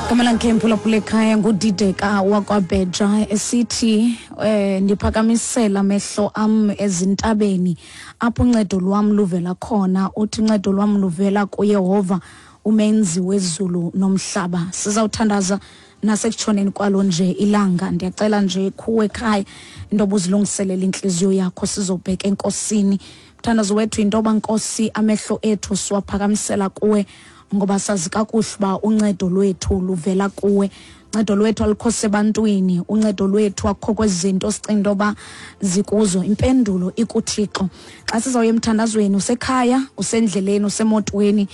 Igama lakhe mphulaphula ekhaya nguDideka wakwaBheja esithi eh ndiphakamisela amehlo am ezintabeni apho uncedo lwam luvela khona. Uthi uncedo lwam luvela kuYehova umenzi wezulu nomhlaba. Sizawuthandaza nasekutshoneni kwalo nje ilanga. Ndiyacela nje khuwe ekhaya into yoba uzilungiselele intliziyo yakho, sizobheka enkosini. Mthandazo wethu yinto yoba Nkosi amehlo ethu siwaphakamisela kuwe, ngoba sazi kakuhle uba uncedo lwethu luvela kuwe. Uncedo lwethu alukho sebantwini, uncedo lwethu akukho kwezi zinto sicinga into yoba zikuzo. Impendulo ikuThixo. Xa sizawuya emthandazweni, usekhaya, usendleleni, usemotweni,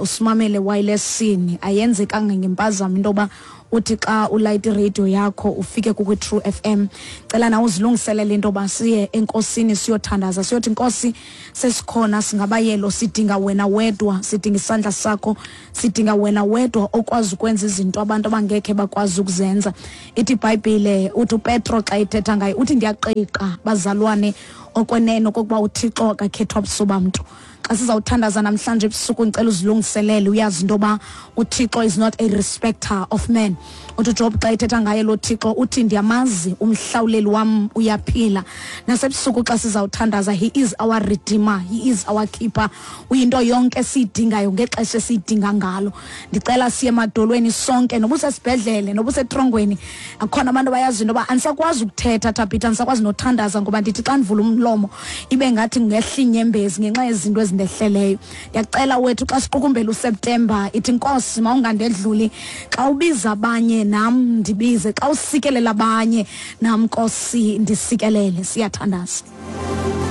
usimamele wirelessini, ayenzekanga ngempazamo into yoba uthi xa ulayita iradio yakho ufike kukwi-True FM. Cela nawe uzilungiselele into yoba siye enkosini siyothandaza, siyothi Nkosi sesikhona, singabayelo, sidinga wena wedwa, sidinga isandla sakho, sidinga wena wedwa okwazi ukwenza izinto abantu abangekhe bakwazi ukuzenza. Ithi iBhayibhile, uthi uPetro xa ethetha ngaye uthi ndiyaqiqa bazalwane okwenene okokuba uThixo akakhethwa buso bamntu. Xa sizawuthandaza namhlanje ebusuku, ndicela uzilungiselele, uyazi into yoba uThixo is not a respecter of men. Uthi uJob xa ethetha ngaye lo Thixo uthi ndiyamazi umhlawuleli wam uyaphila. Nasebusuku xa sizawuthandaza, he is our redeemer, he is our keeper, uyinto yonke esiyidingayo ngexesha esiyidinga ngalo. Ndicela siye emadolweni sonke, noba usesibhedlele noba usetrongweni. Akhona abantu abayazi into yoba andisakwazi ukuthetha Thabitha, andisakwazi nothandaza ngoba ndithi xa ndivula umlomo ibe ngathi ngehla inyembezi ngenxa yezinto ezindehleleyo. Ndiyacela wethu xa siqukumbela uSeptemba, ithi Nkosi mawungandedluli, xa ubiza abanye nam ndibize, xa usikelela abanye nam Nkosi ndisikelele. Siyathandaza.